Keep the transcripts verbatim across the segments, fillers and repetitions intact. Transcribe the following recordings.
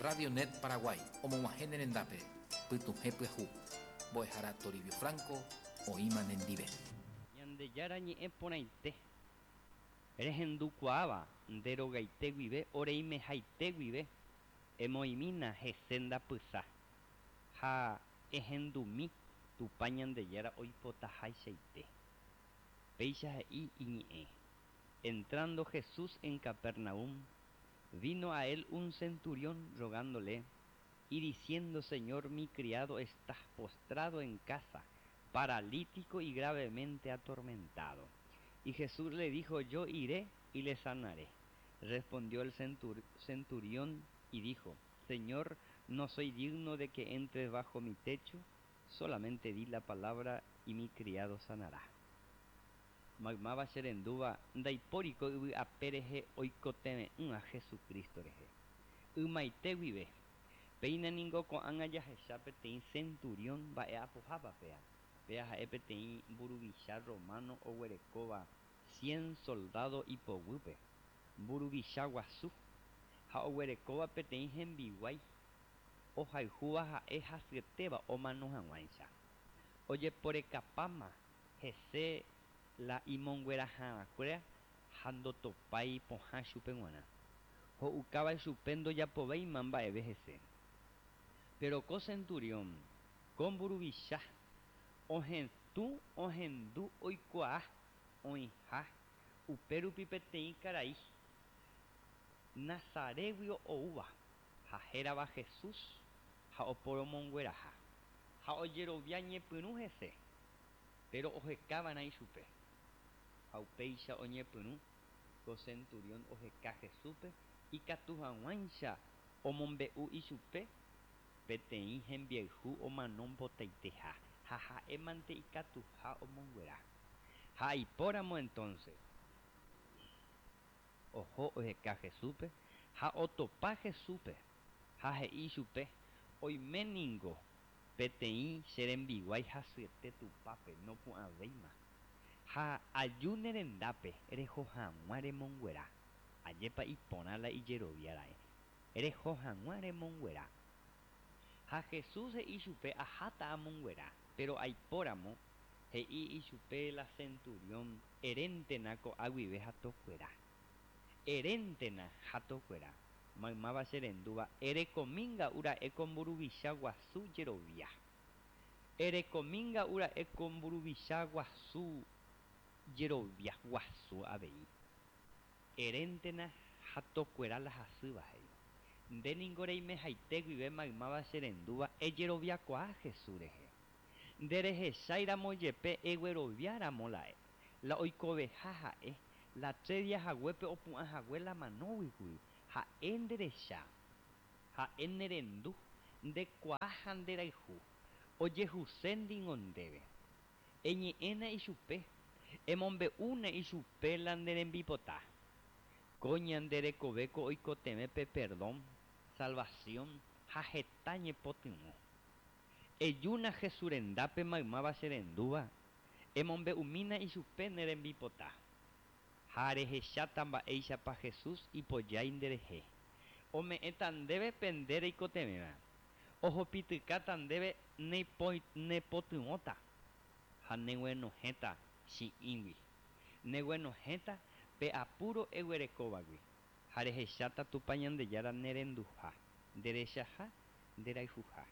Radio Net Paraguay omog̃uahẽ ne rendápe pytuhẽ pyahu mbo'ehára Toribio Franco oĩma nendive. Ñandejára ñe'ẽ porãite rehendukuaáva nde rogaite guive oreimehaite guive emoĩmína hese ndapysã ha ehendumi Tupã Ñandejára oipotahaichaite. Péicha he'i iñe'ẽ. Entrando Jesús en Capernaum, vino a él un centurión rogándole y diciendo: Señor, mi criado está postrado en casa, paralítico y gravemente atormentado. Y Jesús le dijo: Yo iré y le sanaré. Respondió el centur centurión y dijo: Señor, no soy digno de que entres bajo mi techo, solamente di la palabra y mi criado sanará. Maymáva cherendúva, ndaipóri ko yvy ape rehe oikotevẽ'ỹva Jesucristo rehe. Ymaite guive, péina ningo ko'ág̃a jahecha peteĩ centurión mba'e'apohápa péa. Péa ha'e peteĩ mburuvicha romano oguerekóva cien soldado ipoguýpe, mburuvicha guasu, ha oguerekóva peteĩ hembiguái ohayhúva ha'e hasyetéva omano hag̃uáicha. Ojeporekapáma hese la imonguerahakuéra ha ndotopái pohã chupe g̃uarã. Ho'ukáva chupe ndojapovéima mba'eve hese. Pero ko centurión, ko mburuvicha, ohetũ ohendu oikuaa oĩha upérupi peteĩ karai Nazaretgui oúva ha hérava Jesús ha oporomongueraha. Ha ojerovia ñepyrũ hese, pero ohekava'erã ichupe. Ha upéicha oñepyrũ ko centurión oheka Jesúspe ikatu hag̃uáicha omombe'u ichupe peteĩ hembiayhu omano mbotaiteha ha ha'émante ikatuha omonguera. Ha aipóramo entonces oho oheka Jesúspe ha otopa Jesúspe ha he'i ichupe: Oime ningo peteĩ che rembiguái hasyete tupápe nopu'ãvéima ha aju ne rendápe reho hag̃ua remonguera. Ajépa iporã la ijeroviára'e. Reho hag̃ua remonguera. Ha Jesús he'i chupe: Aháta amonguera, pero aipóramo he'i ichupe la centurión: Eréntena ko'a guive ha tokuera. Eréntena ha tokuera. Maymáva cherendúva, erekomínga'ura'e ko mburuvicha guasu jerovia. Erekomínga'ura'e ko mburuvicha guasu jerovia guasu avei. Eréntena ha tokuera la hasýva he'i. Nde ningo reimehaite guive maymáva cherendúva ejeroviakuaa Jesús rehe. Nderehecháiramo jepe egueroviáramo la oikoveha ha'e la tres días haguépe opu'ãhague la manóguikuri ha'e nderecha ha'e nerendu ndekuaa ha nderayhu ojehuse ningo ndéve. Eñe'ẽna ichupe emombe'úna ichupe la ne rembipota. Ko ñande rekovéko oikotevẽ pe perdón, salvación ha heta ñepotyvõ. Ejúna Jesús rendápe maymáva cherendúva emombe'umína ichupe ne rembipota. Ha rehecháta mba'éichapa Jesús ipojái nderehe. Ome'ẽta ndéve pe nde reikotevẽva. Ohopitykáta ndéve nepotyvõta ha neguenohẽta chi'ĩgui. Neguenohẽta pe apuro eguerekóvagui ha rehecháta Tupã Ñandejára nerenduha, nderechaha, nderayhuha.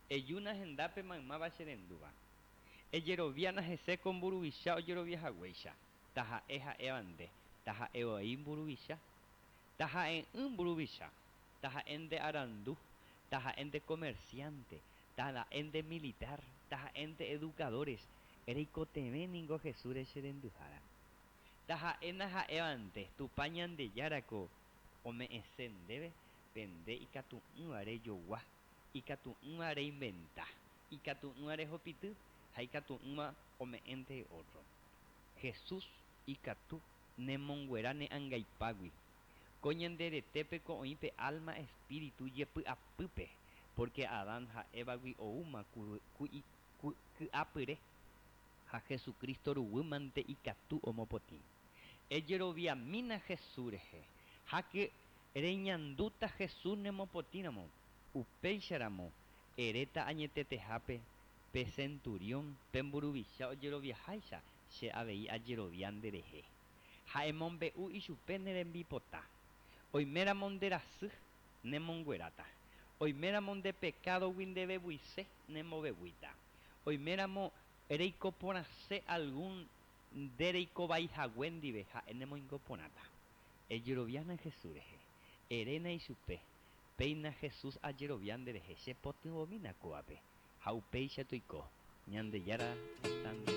Ejúna hendápe maymáva cherendúva. Ejeroviána hese ko mburuvicha ojeroviahaguéicha. Taha'e ha'éva nde, taha'e voi mburuvicha, taha'e'ỹ mburuvicha, taha'e nde arandu, taha'e nde comerciante, taha'e nde militar, taha'e nde educadores, reikotevẽ ningo Jesús cherendúhara. Taha'éna ha'éva nde, Tupã Ñandejárako ome'ẽse ndéve pe nde ikatu'ỹva rejogua, ikatu'ỹva reinventa, ikatu'ỹva rehopity ha ikatu'ỹva ome'ẽnte otro. Jesús ikatu nemonguera ne angaipágui. Ko ñande retépeko oĩ pe alma espíritu jepy'apýpe, porque Adán ha Evagui oúma ky'apyre ha Jesucristo ruguýmante ikatu omopotĩ. Ejeroviamína Jesús rehe. Háke Reñandúta Jesús nemopotĩramo, upéicharamo eréta añetetehápe pe centurión pe mburuvicha ojeroviaháicha che avei ajerovia nderehe. Ha emombe'u ichupe ne rembipota. Oiméramo nderasy nemongueráta. Oiméramo nde pekádogui ndevevuise nembovevuíta. Oiméramo reikoporãse algún ndereikovaihague ndive ha'e nemoingoporãta. Ejeroviána Jesús rehe. Eréna ichupe. Péina Jesús ajerovia nderehe chepytyvõmína kóvape. Ha upéicha toiko. Ñandejára